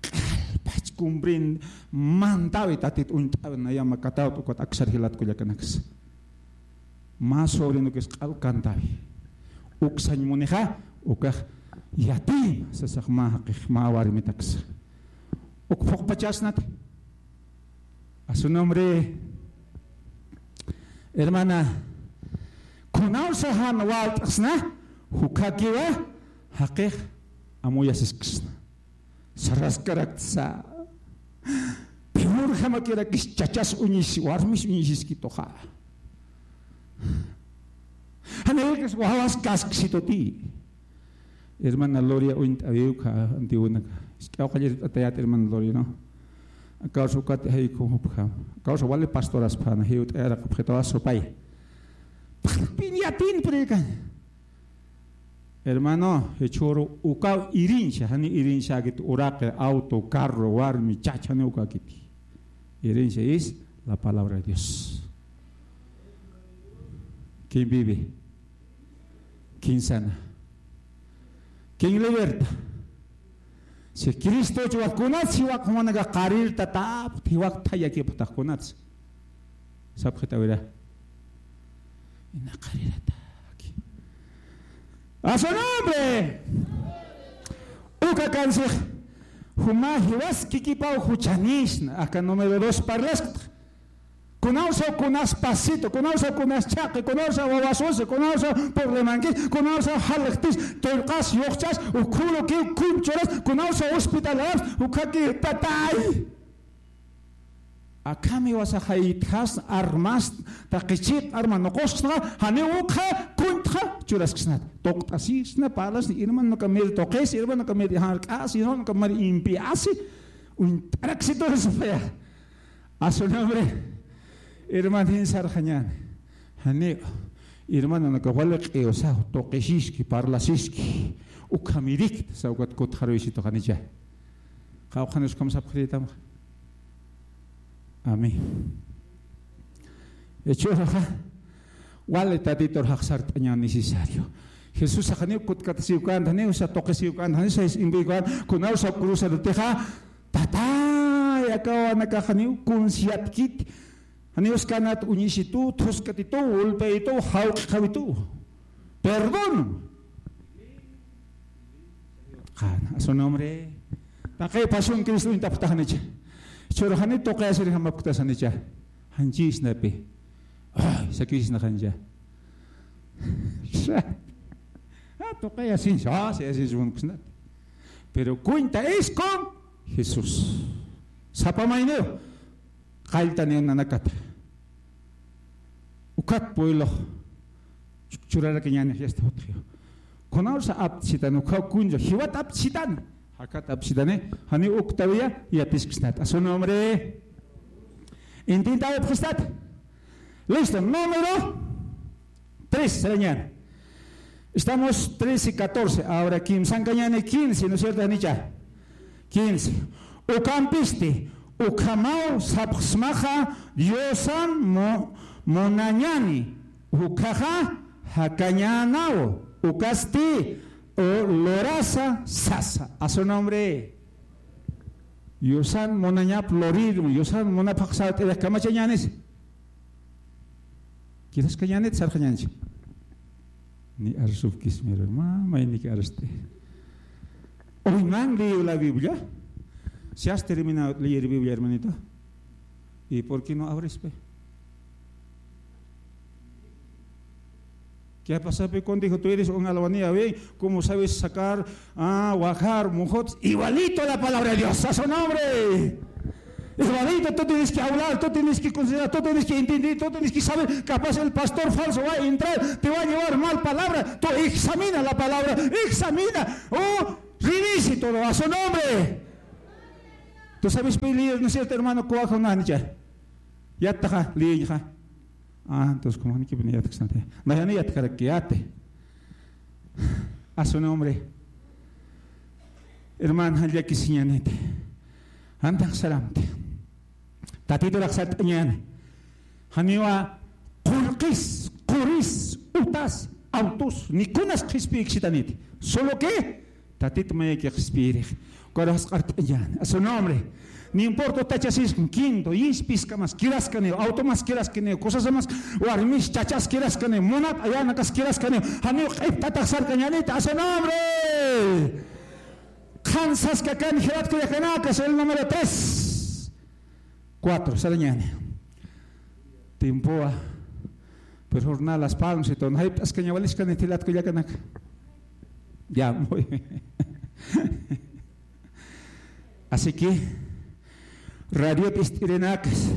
Q'alpach cumprin mantawi tatit uñt'awi, nayan makatawt ukat aksar jilat kullakanaksa. Mä sobrinokis q'al kantawi. Uksañ munixa, ukax yatim, sasax mä jaqix, mä warmitaksa. Uk phuqpachasnat. A su nombre. Hermana, kunawsa jan walt'sna, jukhakiwa, jaqix amuyasisksna. Saraskarakt sa. Peor jamakirakis chachas uñis, warmis uñisiskituxa. Janïkis wawas kasksituti. Hermana Gloria uñt'awiw ka antiwinaka. Isk'aw qallirt'atayat hermana Gloria, ¿no? Akawsa ukat jayku jupja. Akawsa wali pastoraspana, jiwt'ayaraq objeto asopay. Pin yatin predikan. Hermano, jichhüru ukaw herencia, jani herenciakit uraqi, auto, carro, warmi, chacha, jani ukakiti. Herencia es la palabra de Dios. ¿Quién vive? ¿Quién sana? ¿Quién liberta? Si Cristo jiwaq kunats, jiwaq jumanaka qarirtatapxta, jiwaq thayakipxtax kunats. Sapxitawira. Ina qarirataki. A su nombre. Uka kansix. Juma jiwas kikipaw juchanisna. Aka número dos parlaskta. Kunawsaw kunas pasito, kunawsaw kunas chhaqi, kunawsaw wawasusi, kunawsaw problemanki, kunawsaw jalxtis, tullqas, yuxchas, ukhulukiw kunchuras, kunawsaw hospitalaras, ukhaki tatay. Akham jiwasax jaytjasna, armas, taqi chiq arma nuqusksnaxa, janiw ukxa kuntxa churasksnat. Tuqt'asisna, parlasna, hermanoka mir tuqis, hermanoka mir jark'as, hermanoka mir impiasi, uñt'araksiturisipaya. A su nombre. Hermanin sarxañäni. Janiw. Hermanonaka wali q'iwsaw, tuqisiski, parlasiski. Ukhamirikta, sawkat kutxaruysitu janicha. Qawqhanis ukham sapxiritamxa. Amén. Jichhüruxa, wali Tatitur jaqsart'aña necesario. Jesusax janiw kutkatasiw känti, janiw sa tuqisiw känti, janiw sa imbï känti, kunawsa cruzarutixa, tatay, akawanakax janiw kunsiyatkiti, janiw uskanat uñisitu, thuskatitu, ulpayitu, jawq'xawitu. Perdón. Qana, a su nombre. Taqi pasión Cristo uñtapxta janicha. Jichhüru jani tuqiyasiri jamapktas janicha. Janchisnapi. Ay, sakisna jancha. Ah, tuqiyasinsa, ah, sayasinsa munksnat. Pero cuenta es con Jesús. Sapa mayniw. Qalltaniw nanakata. Ukat pueblox churarakiñäni fiesta jutxiw. Kunawsa aptisitan, ukhaw kuncha, jiwat aptisitan. Jakat aptisitani, jani uktawiya, yatisksnat. A su nombre. Intintawipxistat. Listo, número tres, sarañäni. Estamos trece y catorce, ahora kimsankañäni quince, ¿no es cierto, janicha? Quince. Ukampisti, ukhamaw sapxsmaxa Diosan mu-, munañäni, ukhaxa jakañänaw, ukasti, u, lurasa sasa. A su nombre. Diosan munañap lurir, Diosan munapxax sart'irix kamachañänis. Quizás kañänit sarxañänchi. Ni arsupkismir, ma, mayniki arsti. Hoy no han leído la Biblia. Si has terminado de leer Biblia, hermanito. ¿Y por qué no abres, pe? ¿Qué ha pasado, Picondi? Tú eres un albañil, ¿ve? ¿Cómo sabes sacar, ah, bajar, mojots? Igualito la palabra de Dios. A su nombre. Igualito, tú tienes que hablar, tú tienes que considerar, tú tienes que entender, tú tienes que saber. Capaz el pastor falso va a entrar, te va a llevar mal palabra. Tú examina la palabra, examina. Oh, revise todo a su nombre. Tú sabes, pues, líder, ¿no es cierto, hermano? Coajo, no, ya. Ya está, líder, ya. Ah, entonces, como ni que venía, ya está. No, ya ni ya está, que ya te. A su nombre. Hermano, ya que siñanete. Antax saramte. Tatiturax sart'añäni. Janiwa qullqis, quris, utas, autos, ni kunas qhispiykitaniti. Solo que Tatit mayaki qhispiyirix. Ukarux sart'añäni. A su nombre. No importa, utachasisma, quinto, yispi iskamas kiraskaniw, auto mas kiraskaniw, cosas mas, warmis, chachas kiraskaniw, munat ayanakas kiraskaniw. Janiw q'iptatax sarkañäniti. A su nombre. Qhan saskakan jilat kullakanakas, el número tres. Cuatro, sarañäni. Tiempowa. Pero jornal Las Palmas y todo. Jayp'askaña waliskaniti jilat kullakanaka. Ya, muy bien. Así que, radio ist'irinakas.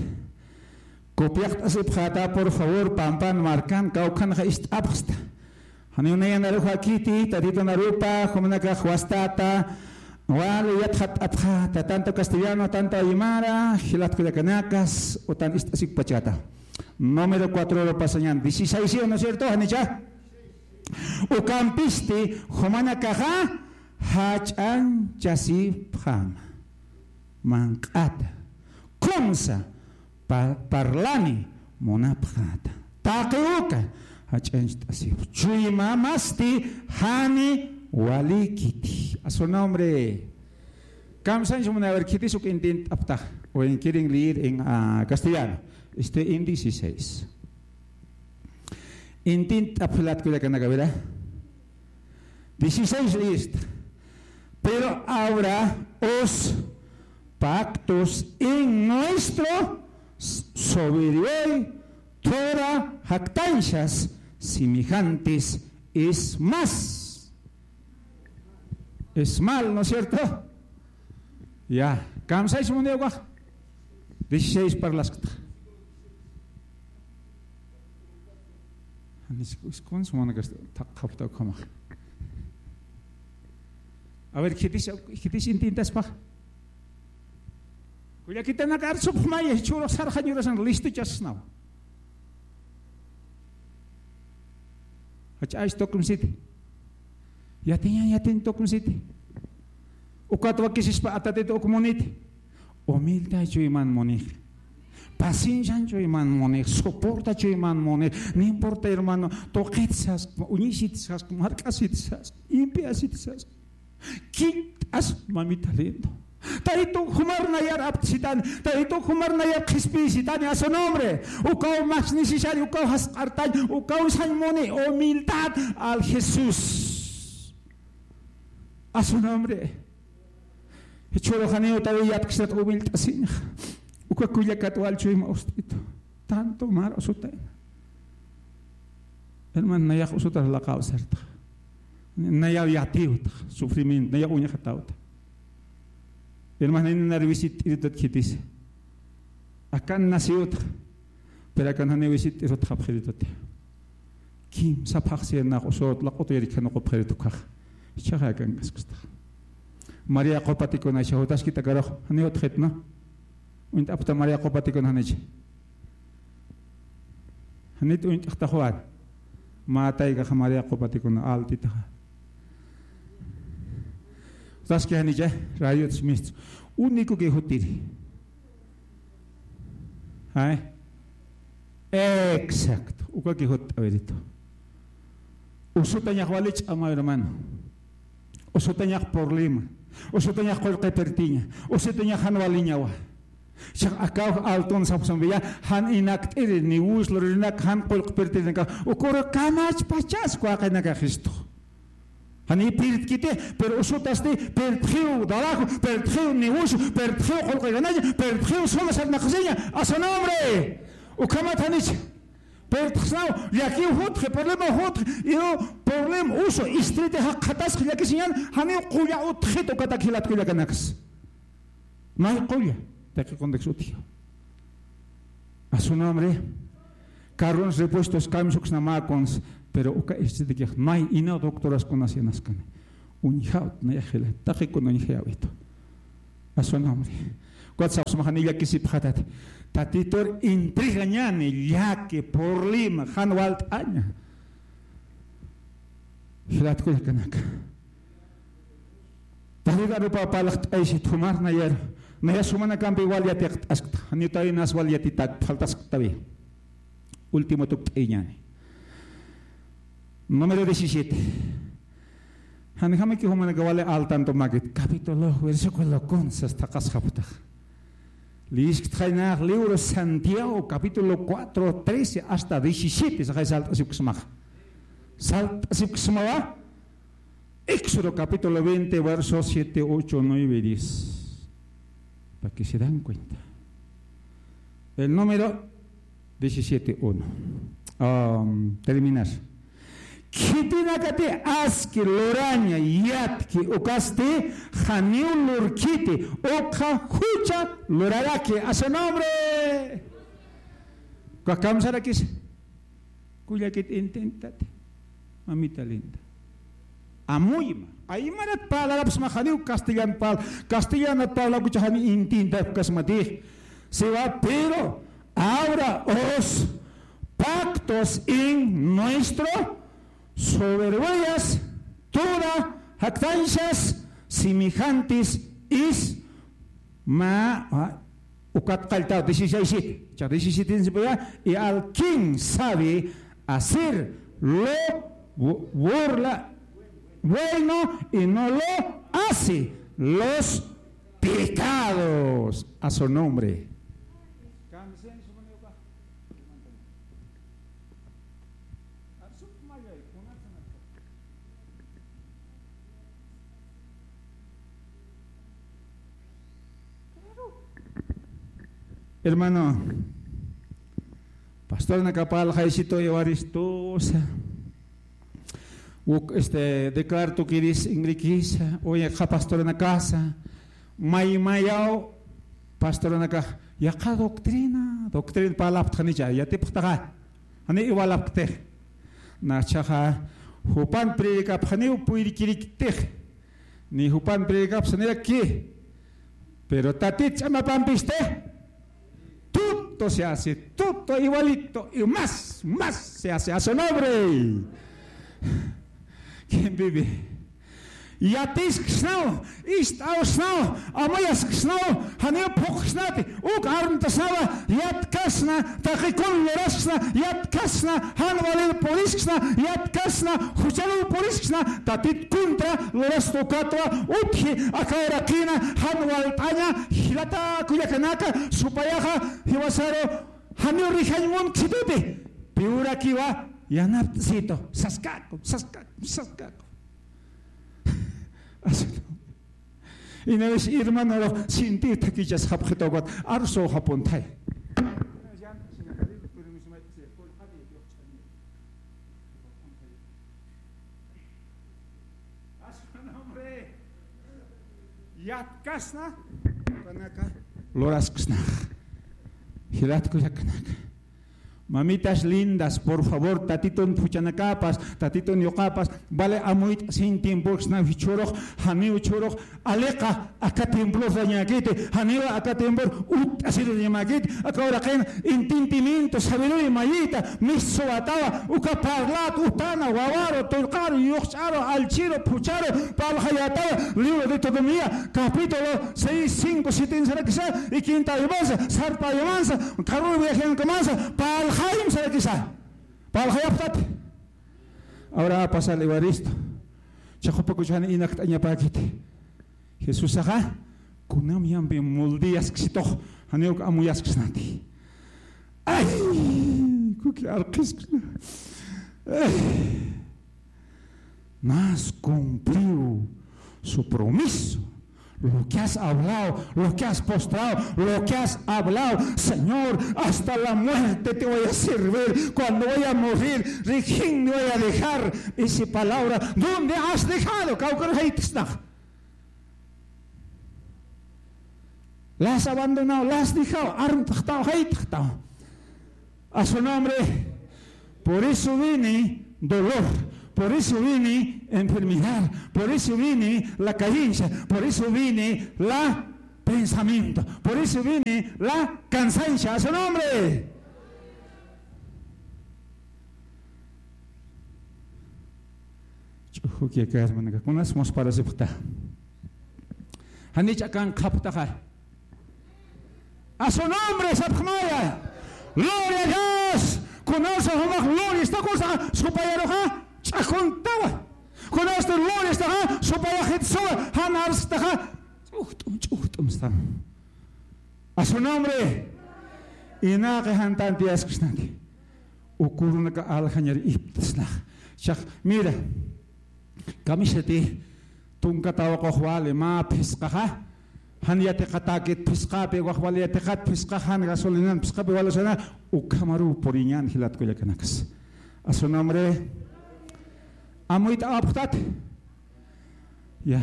Copiaqt'asipxäta, por favor, pampan markan, kawkhanxa ist'apxta. Janiw nayan aruxa kiti, Tatitu narupa, jumanakax wastata, wali yatxatapxäta, tanto castellano, tanto aymara, jilat kullakanakas, utan ist'asipxpachäta. Número cuatro lo pasañäni, dieciséis, ¿sí o no cierto? Janicha. Ukampisti, jumanakaxa, jach'añchasipxäma. Manq'ata. Kunsa, pa-, parlani munapxäta. Taqi uka jach'añcht'asipxi. Chuymamasti jani walikiti. A su nombre. Kamsañs munay, a ver, khitis uk intint'apxta. O en, quieren leer en, ah, castellano. Este en dieciséis. Intint'apxi jilat kullakanaka, ¿verdad? Dieciséis, listo. Pero ahora os pactos en nuestro s-, soberbio, toda jactancias semejantes es más. Es mal, ¿no es cierto? Ya, kamsañs munay ukax. Dieciséis parlaskta. Janis, ¿cómo se llama? A ver, khitis, khitis intintaspa. Kullakitanaka, arsupxmaya, jichhürux sarxañurasan listuchasnaw. Jach'añch tukumsiti. Yatiñan, yatin tukumsiti. Ukat wakisispa a Tatitu uk muniti. Humildad chuyman munix. Paciencian chuyman munix. Soporta chuyman munix. No importa, hermano, tuqit sask, uñisit sask, mark'asit sask, impiasit sask. Quintas, mamita lindo. Taytun jumar nayar apt'sitani, Taytun jumar nayar qhispiyisitani, a su nombre. Ukaw más necesario, ukaw jasq'artañ, ukaw sañ muni, humildad al Jesús. A su nombre. Jichhürux janiw taytay yatksat humilt'asiñxa. Uka kullakat wal chuyma ust'itu. Tanto mar usutayna. Hermano, nayax usutar laqaw sartax. Nayaw yatiwtax, sufrimiento, nayaw uñaxatawta. Hermano, janiw nar visitt'irituti khitis. Akan naciwtax. Pero akan janiw visitt'irutxapxiritut. Kimsa phaxsir nax usut laq'ut yirikhan uqupxiritu ukax. Jichhaxa akan kaskustax. María Qupatikuna, jichha jutaskit akarux, janiw utjxit, ¿no? Uñt'apxta María Qupatikuna janich. Janit uñt'xta Juan. Mä taykaxa María Qupatikuna altitaxa. Utaski janicha, rayut simistu. Único que jutiri. ¿Ay? Exacto. Uka que jut, a ver, esto. Usutañax wali ch'ama, hermano. Usutañax problema. Usutañax qullqipirtiña. Usutañax jan waliñawa. Jichhax akaw altun sapxsma, ya, jan inakt'iri, ni wus lurinak, jan qullqipirtirinaka. Ukuru kamachpachas waqinakaxistux. Jani pirtkiti, pero usutasti, pirtxiw trabajo, pirtxiw negocio, pirtxiw qullqi ganaña, pirtxiw suma sarnaqasiña. A su nombre. Ukhamat janich. Pirtxsnaw, llakiw jutxi, problema jutxi, iru problema usu, istriti jaqatasxi, llakisiñan, janiw qulla utxit ukatak jilat kullakanaks. May qulla, taqi contexto utji. A su nombre. Carrons repuestos, cambio suksna mä cons, pero uka istritikix may ina doctoras kunas yanaskani. Uñjawt nayax jila, taqi kun uñjayawitu. A su nombre. Ukat sapxsmaxa ni llakisipxatat. Tatitur entregañani llaki, problema, jan walt'aña. Jilat kullakanaka. David arupa parlaxt'aysi thumar nayaru. Naya sumanakampi wal yatiqt'askta. Janiw tawinas wal yatitak faltasktawi. Último tukt'ayañani. Número diecisiete. Janjamaki jumanaka wali al tanto makit. Capítulo, versículo kunsa thaqasxapxtax. Liyisktxaynax libro Santiago, capítulo cuatro, trece hasta diecisiete. Saxay salt'asipksmaxa. Salt'asipksmawa. Éxodo capítulo veinte, versos siete, ocho, nueve y diez. Para que se dan cuenta. El número diecisiete uno. Am, terminar. Khitinakati aski luraña yatki ukasti janiw lurkiti, ukxa jucha luraraki. A su nombre. Uka kamsarakis. Kullakit intentati. Mamita linda. Amuyma. Aymarat parlarapxsma janiw castellan parl-, castellanat parlakucha jani intentapkasmatix. Siwa, pero ahora os pactos en nuestro soberbias, toda jactancias semejantes es ma, ah, ukat qalltaw dieciséis siete. Cha dieciséis siete, y al quien sabe hacer lo bu-, burla, bueno y no lo hace, los pecados a su nombre. Hermano, pastornaka parlxaysitu Evaristosa. Uk, este, declarto que eres ingrikisa, oye, qa pastornakasa, may mayaw pastornaka, yaqha doctrina, doctrina parlapxtxanicha, yatipxtaxa, jani iwalapxtix. Nachaxa, jupan predicapxaniw puyrikiriktix, ni jupan predicapxsaniraki, pero Tatit ch'amapampisti, todo se hace, todo igualito, y más, más se hace a su nombre. ¿Quién vive? Yatisksnaw, ist'awsnaw, amayasksnaw, janiw phuqsnati, uk armtasnawa, yatkasna, taqi kun lurasksna, yatkasna, jan walil purisksna, yatkasna, jucharuw purisksna, Tatit contra lurasta ukatwa, utji, aka uraqina, jan walt'aña, jilata kullakanaka, supayaxa, jiwasaru, janiw rijañ munksituti, piwrakiwa, yanapt'situ, saskaku, saskaku, saskaku. Así no. Ina vez hermano, sinti thakichasxapxituwa, arsuxapuntay. Yatkasna, kanaka, lurasksna. Jilat kullakanaka. Mamitas lindas, por favor, Tatitun phuchhanakapas, Tatitun yuqapas, vale amuyt'asiñ tiemporksnaw jichhürux, janiw jichhürux, aliqa aka templos dañäkiti, janiw aka templos utt'asir dañamäkiti, aka uraqin entendimiento, sabiduría mayita, mistsawatawa, uka parlat, utana, wawaru, tullqaru, yuqch'aru, allchiru, phuchharu, parlxayätawa, libro de Deuteronomio, capítulo seis, cinco, siete sarakisa, y quinta ayumansa, sarpa ayumansa, carro viajeankamansa, parlxayim sarakisa. Parlxayapxtati. Ahora va a pasar Evaristo. Chaqupakuchani inakt'añapäkiti. Jesusaxa, kunam yampi muldiyasksitux, janiw uk amuyaskisnati. Ay, kuki arqisksna. Ay. Mas cumplió su promiso, Lo que has hablado, lo que has postrado, lo que has hablado, Señor, hasta la muerte te voy a servir. Cuando voy a morir, rikhin me voy a dejar esa palabra. ¿Dónde has dejado? Kawkar haytisnax. Las abandonado, las dejado, armtxtaw, haytxtaw. A su nombre. Por eso viene dolor, por eso viene enfermedad, por eso viene la carencia, por eso viene la pensamiento, por eso viene la cansancio. A su nombre. Ch'ujuki aka hermanaka, kunas musparasipxta. Janich akan qhaptaxa. A su nombre sapxmaya. Gloria a Dios. Kunawsa jumax gloria istakusa supayaruxa ch'akuntawa. Kunawsa gloria istaxa supayaxitsuwa, jan arstaxa ch'ujt'um ch'ujt'um stam. A su nombre. Inaqi jantanti askisnati. Ukurunaka aljañar iptisnax. Chax, mira. Kamisati tunka tawaqux wali mä phisqaxa, jan yatiqatäkit phisqapi, wax wali yatiqat phisqaxa, jan gasolinan phisqapi wali usana, ukhamaruw puriñän jilat kullakanakas. A su nombre. Amuyt'awapxtat. Ya.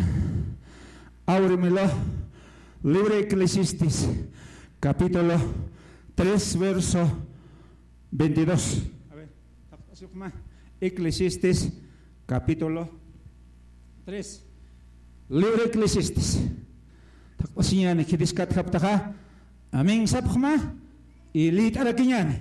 Ábremelo. Libro Eclesiastés, capítulo tres, verso veintidós. A ver, tapt'asipxma. Eclesiastés, capítulo tres. Libro Eclesiastés. Tapt'asiñäni, khitis katjaptaxa. Amén sapxma. Y liyt'arakiñäni.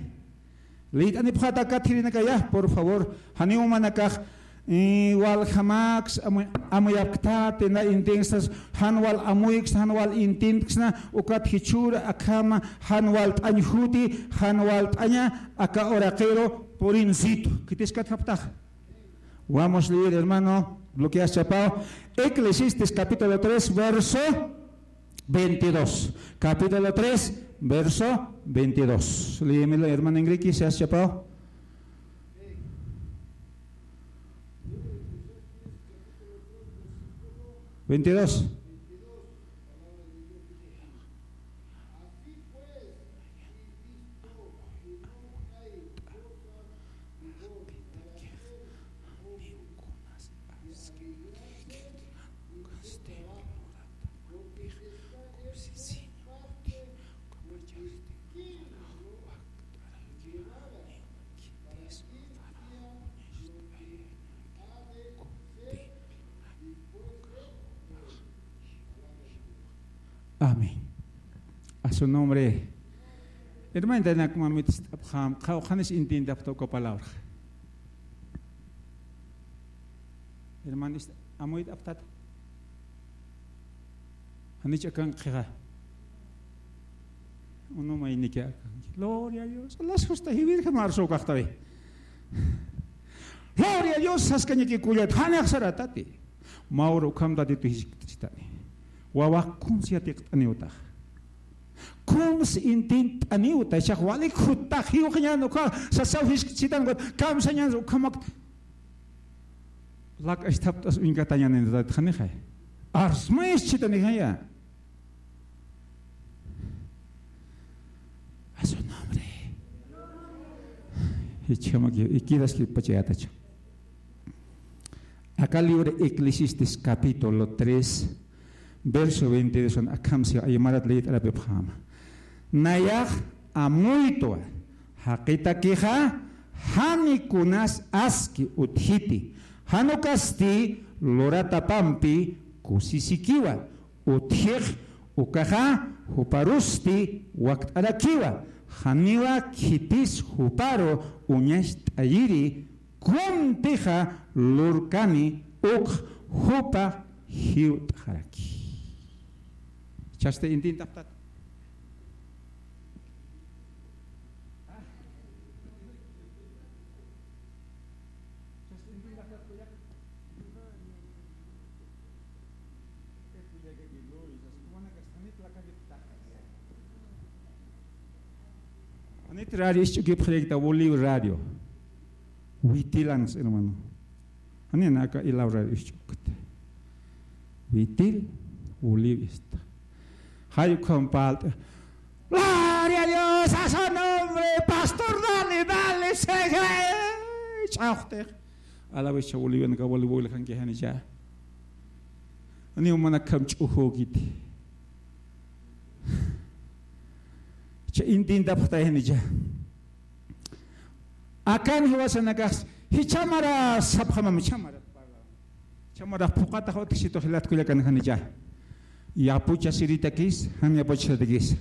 Liyt'anipxata aka jirinakaya, por favor. Janiw jumanakax, eh, waljamaks, amu-, amuyapktati, na intinksas, jan wal amuyks, jan wal intinksna, ukat jichhüra akhama, jan walt'añ juti, jan walt'aña, aka uraqiru, purincitu. Khitis katjaptax. Vamos a leer, hermano, lo que has chapado. Eclesiastés capítulo tres, verso veintidós. Capítulo tres, verso veintidós. Léemelo, hermano Enrique, si has chapado. Veintidós. Amén. A su nombre. Hermanita, nakumamit ist'apxam, qhawqhanis intintapxta uka palabra. Hermano, ist-, amuyt'apxtata. Janich akan qhixa. Unu mayniki akan. Gloria a Dios. Las justa jiwir jamar so kaxtawi. Gloria a Dios, saskañaki kullat, janax saratati. Mä ura ukham Tatitu jiskt'sitani. Wawax kunsi yatiqt'aniwtax. Kunsi intint'aniwta, chax walik juttax, jiwxañan ukha, sasaw jiskt'sitan, kamsañan ukhamak. Lak asthapt'as uñkatañanin Tatit janixay. Arsma ischitani jaya. A su nombre. Jichhamak ikidaski pachayatachu. Aka libro Eclesiastés capítulo tres, verso veintidós, akham si aymarat leyt'arapipxäma. Nayax amuytwa, jaqitakixa, jani kunas aski utjiti, jan ukasti luratapampi kusisikiwa, utjix ukaxa juparusti wakt'arakiwa, janiwa khitis juparu uñacht'ayiri, kuntixa lurkani uk jupa jiwt'xaraki. Chasta intintapxtat. Anit radio isch'ukipxirikta, Bolivia radio. Witilanks, hermano. Anina aka ilaw radio isch'ukta. Witil. Bolivia está. Jay ukham palt'a. Gloria a Dios, a su nombre, pastor, dale, dale, sigue. Ch'axtix. Alabecha Bolivian kawali boyla kanki jani ya. Ani umana kam ch'ujo giti. Cha intindapxta jani ya. Akan jiwasanakax, jichhamara sapxamam, jichhamara. Jichhamara phuqatax utjsitu jilat kullakan jani ya. Yapucha siritakis, jan yapucha siritakis.